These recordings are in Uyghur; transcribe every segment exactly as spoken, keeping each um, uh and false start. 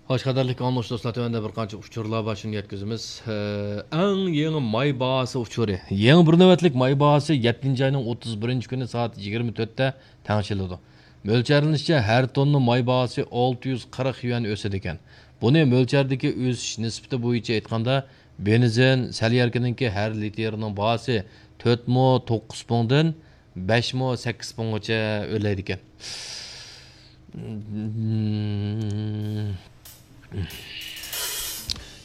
خوش، قەدىرلىك ئاڭلىغۇچى دوستلار، تۆۋەندە بىر قانچە ئۇچۇرلار بار، شۇنى يەتكۈزىمىز. ئە، ئەڭ يېڭى ماي باھاسى ئۇچۇرى. يېڭى بىر نۆۋەتلىك ماي باھاسى يەتتىنچى ئاينىڭ ئوتتۇز بىرىنچى كۈنى سائەت يىگىرمە تۆتتە تەڭشىلىدۇ. مۆلچەرلىنىشىچە، ھەر توننا ماي باھاسى ئالتە يۈز قىرىق يۈەن ئۆسىدىكەن. بۇنى مۆلچەردىكى ئۆسۈش نىسبىتى بويىچە ئېيتقاندا، بېنزىن، سەلياركىنىڭكى ھەر لىتىرىنىڭ باھاسى تۆت مو توققۇز پۇڭدىن بەش مو سەككىز پۇڭغىچە ئۆرلەيدىكەن.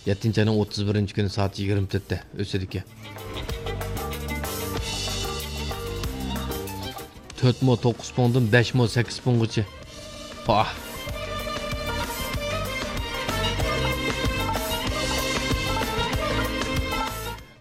يەتتىنچى ئاينىڭ ئوتتۇز بىرىنچى كۈنى سائەت يىگىرمە تۆتتە ئۆسىدىكەن. تۆت مو توققۇز پۇڭدىن بەش مو سەككىز پۇڭغىچە. پاھ.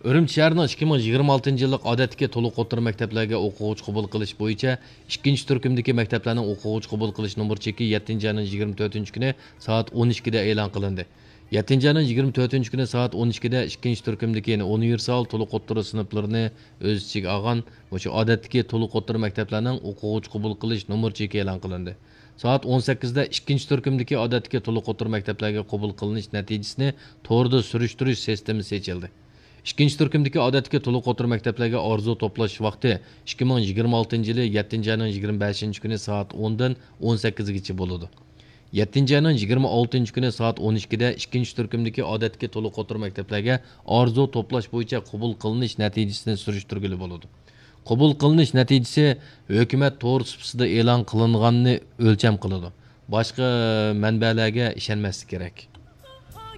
ئۈرۈمچى شەھىرىنىڭ ئىككى مىڭ يىگىرمە ئالتىنچى يىللىق ئادەتتىكى تولۇق ئوتتۇرا مەكتەپلەرگە ئوقۇغۇچى قوبۇل قىلىش بويىچە ئىككىنچى تۈركۈمدىكى مەكتەپلەرنىڭ ئوقۇغۇچى قوبۇل قىلىش نومۇر چېكى يەتتىنچى ئاينىڭ يىگىرمە تۆتىنچى كۈنى سائەت ئون ئىككىدە ئېلان قىلىندى. يەتتىنچى ئاينىڭ يىگىرمە تۆتىنچى كۈنى سائەت ئون ئىككىدە ئىككىنچى تۈركۈمدىكى، يەنى ئۇنىۋېرسال تولۇق ئوتتۇرا سىنىپلىرىنى ئۆز ئىچىگە ئالغان مۇشۇ ئادەتتىكى تولۇق ئوتتۇرا مەكتەپلەرنىڭ ئوقۇغۇچى قوبۇل قىلىش نومۇر چېكى ئېلان قىلىندى. سائەت ئون سەككىزدە ئىككىنچى تۈركۈمدىكى ئادەتتىكى تولۇق ئوتتۇرا مەكتەپلەرگە قوبۇل قىلىنىش نەتىجىسىنى توردا سۈرۈشتۈرۈش سىستېمىسى ئېچىلدى. ئىككىنچى تۈركۈمدىكى ئادەتتىكى تولۇق ئوتتۇرا مەكتەپلەرگە ئارزۇ توپلاش ۋاقتى ئىككى مىڭ يىگىرمە ئالتىنچى يىلى يەتتىنچى ئاينىڭ يىگىرمە بەشىنچى كۈنى سائەت ئوندىن ئون سەككىزگىچە بولىدۇ. يەتتىنچى ئاينىڭ يىگىرمە ئالتىنچى كۈنى سائەت ئون ئىككىدە ئىككىنچى تۈركۈمدىكى ئادەتتىكى تولۇق ئوتتۇرا مەكتەپلەرگە ئارزۇ توپلاش بويىچە قوبۇل قىلىنىش نەتىجىسىنى سۈرۈشتۈرگىلى بولىدۇ. قوبۇل قىلىنىش نەتىجىسى ھۆكۈمەت تور سۇپىسىدا ئېلان قىلىنغاننى ئۆلچەم قىلىدۇ. باشقا مەنبەلەرگە ئىشەنمەسلىك كېرەك.